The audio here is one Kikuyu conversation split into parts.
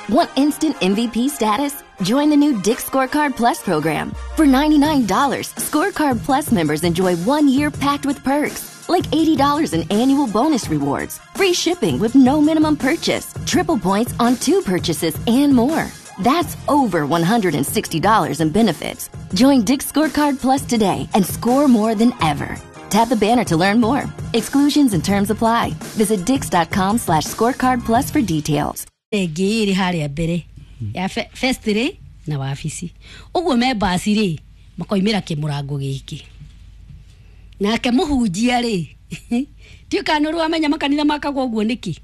Want instant MVP status? Join the new Dick's Scorecard Plus program. For $99, Scorecard Plus members enjoy 1 year packed with perks, like $80 in annual bonus rewards, free shipping with no minimum purchase, triple points on two purchases, and more. That's over $160 in benefits. Join Dick's Scorecard Plus today and score more than ever. Tap the banner to learn more. Exclusions and terms apply. Visit dix.com/scorecard plus for details. Ĩngĩ ĩrĩ harĩa mbere ya festry na wabici ũguo me mbasi rĩ, makoimĩra kĩmũrango gĩkĩ nake mũhunjia rĩ, ndiũ kana nĩ wamenya makanitha makagwo ũguo nĩkĩ.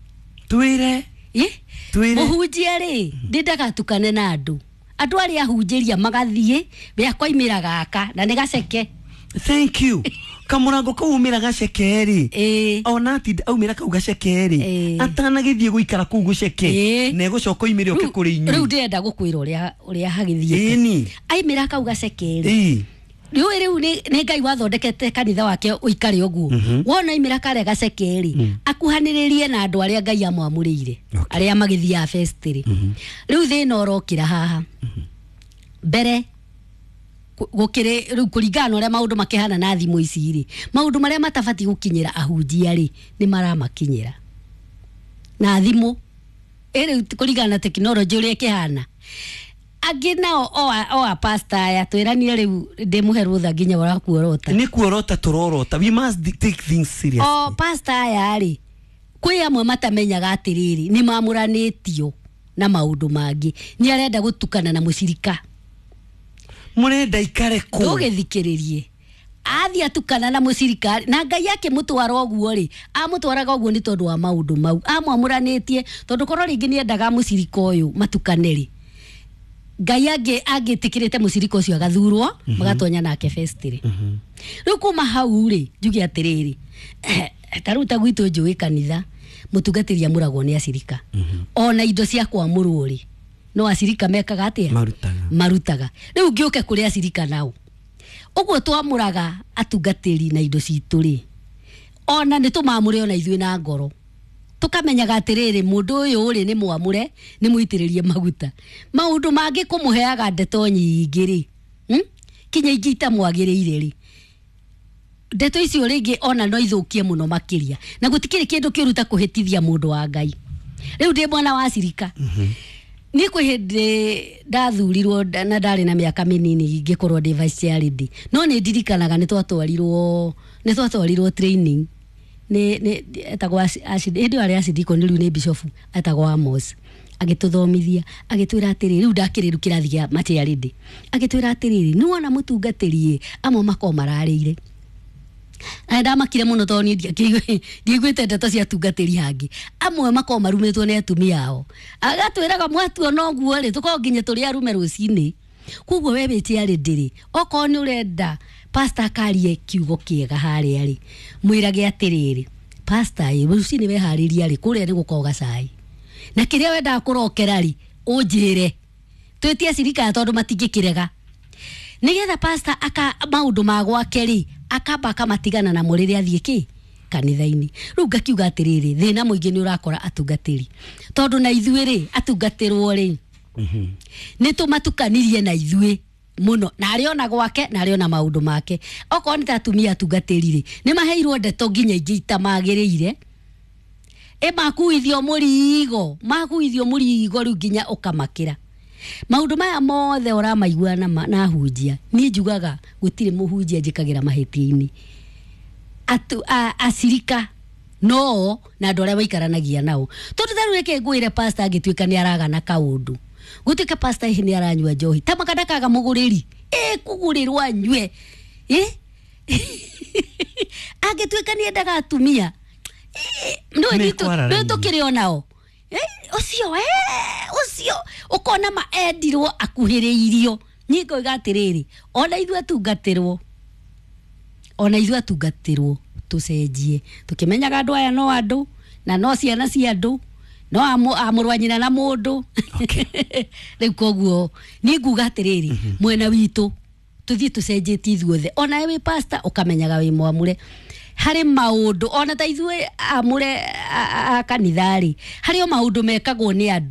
Twĩre. Ĩ? Twĩre. Mũhunjia rĩ, ndĩ ndagatukane na andũ, andũ arĩa ahunjĩria magathiĩ we akoimĩra gaka na nĩ gaceke. Thank you. Kamũrango kau umĩra gaceke rĩ, Ĩĩ. ona atinda aumĩra kau gaceke rĩ, Ĩĩ. atanagĩthiĩ gũikara kũu gũceke, Ĩĩ. na egũcoka oimĩre oke kũrĩ Rĩu inyuĩ. ndĩrenda gũkwĩra ũrĩa hagĩthiĩte. Ĩni. Aimĩra kau gaceke rĩ, Ĩĩ. rĩu nĩ Ngai wathondekete kanitha wake ũikare ũguo. Wona aimĩra karĩa gaceke rĩ, akuhanĩrĩrie na andũ arĩa Ngai amwamũrĩire, arĩa magĩthiaga festĩrĩ. Rĩu thĩna ũrokĩra haha mbere gũkĩrĩ rĩu kũringana na ũrĩa maũndũ makĩhana na thimũ ici rĩ, maũndũ marĩa matabatiĩ gũkinyĩra ahunjia rĩ, nĩ maramakinyĩra na thimũ ĩ. Rĩu kũringana na tekinoronjĩ ũrĩa ĩkĩhana, angĩ nao o a pastor aya twĩranire rĩu ndĩmũhe rũtha nginya ũrakuorota. Nĩ kuorota tũrorota. We must take things seriously. O pastor aya rĩ, kwĩ amwe matamenyaga atĩrĩrĩ, nĩ mamũranĩtio na maũndũ mangĩ, nĩ arenda gũtukana na mũcirika. Mũrenda ikare kũ? Ndũgĩthikĩrĩrie, athiĩ atukana na mũcirika na Ngai akĩmũtwara ũguo rĩ, amũtwaraga ũguo nĩ tondũ wa maũndũ mau amwamũranĩtie, tondũ korwo rĩngĩ nĩ endaga mũcirika ũyũ matukane rĩ, Ngai angĩtĩkĩrĩte mũcirika ũcio agathurwo magatonya nake festĩrĩ. Rĩu kuma hau rĩ, njuge atĩrĩrĩ, ta rĩu ta gwitũ njũĩ kanitha mũtungatĩri amũragwo nĩ acirika, ona indo cia kwamũrwo rĩ, no acirika mekaga atĩa? Marutaga. Marutaga. Rĩu ngĩũke kũrĩ acirika nao ũguo twamũraga atungatĩri na indo citũ rĩ, ona nĩ tũmamũre ona ithuĩ na ngoro tũkamenyaga atĩrĩrĩ, mũndũ ũyũ rĩ, nĩ mwamũre, nĩ mũitĩrĩrie maguta. Maũndũ mangĩ kũmũheaga ndeto nyingĩ rĩ, Kinya ingĩ itamwagĩrĩire rĩ, ndeto icio rĩngĩ ona no ithũkie mũno makĩria, na gũtikĩrĩ kĩndũ kĩũru ta kũhĩtithia mũndũ wa Ngai. Rĩu ndĩ mwana wa cirika, niĩ kwĩ hĩndĩ ndathurirwo na ndarĩ na mĩaka mĩnini ngĩkorwo ndĩ vice chair lady, no nĩ ndirikanaga nĩ twatwarirwo training nĩ etagwo hĩndĩ ĩyo arĩ acidikoni, rĩu nĩ bishofu, etagwo Amos, agĩtũthomithia agĩtwĩra atĩrĩrĩ, rĩu ndakĩrĩ rĩu kĩrathi kĩa machair lady, agĩtwĩra atĩrĩrĩ, nĩ wona mũtungatĩri ĩ, amwe makorwo mararĩire, na ndamakire mũno tondũ niĩ ndiaiguĩte ndeto cia atungatĩri hangĩ, amwe makorwo marumĩtwo nĩ atumia ao. Agatwĩraga mwatuona ũguo rĩ, tũkorwo nginya tũrĩ arume rũcinĩ. Koguo we wĩ chair lady rĩ, okorwo nĩ ũrenda pastor akarie kiugo kĩega harĩa rĩ, mwĩrage atĩrĩrĩ, pastor ĩ, rũcinĩ weharĩria rĩ, kũrĩa nĩ gũkorwo gacai na kĩrĩa wendaga kũrokera rĩ, ũnjĩre twĩtie cirika tondũ matingĩkĩrega, nigetha pastor aka maũndũ ma gwake rĩ, akamba akamatigana namo rĩrĩa athiĩ kĩ kanitha-inĩ. Rĩu ngakiuga atĩrĩrĩ, thĩna mũingĩ nĩ ũrakora atungatĩri, tondũ na ithuĩ rĩ, atungatĩrwo rĩ, nĩ tũmatukanirie na ithuĩ mũno, na arĩ ona gwake na arĩ ona maũndũ make. Okorwo nĩ ta atumia atungatĩri rĩ, nĩ maheirwo ndeto nginya ingĩ itamagĩrĩire, ĩ makuithio mũrigo, makuithio mũrigo rĩu nginya ũkamakĩra. Maũndũ maya mothe ũramaigua na hunjia, niĩ njugaga gũtirĩ mũhunjia njĩkagĩra mahĩtia-inĩ. Acirika no na andũ arĩa maikaranagia nao, tondũ ta rĩu reke ngwĩre, pastor angĩtuĩka nĩ aragana kaũndũ, gũtuĩka pastor hihi nĩ aranyua njohi ta makandakaga mũgũrĩri ĩ kũgũrĩrwo anyue ĩ, angĩtuĩka nĩ endaga atumia Nĩ kwara nĩ raini. tũkĩrĩ onao. Ũcio ũcio ũkona ma endirwo akuhĩrĩirio. Niĩ ngoiga atĩrĩrĩ, ona ithuĩ atungatĩrwo, ona ithuĩ atungatĩrwo tũcenjie tũkĩmenyaga andũ aya no andũ na no ciana cia andũ, no amũrũ wa nyina na mũndũ. Rĩu koguo niĩ nguga atĩrĩrĩ, mwena witũ tũthiĩ tũcenjetie ithuothe, ona we wĩ pastor ũkamenyaga wĩ mwamũre harĩ maũndũ, ona ta ithuĩ amũre a kanitha rĩ, harĩ o maũndũ mekagwo nĩ andũ.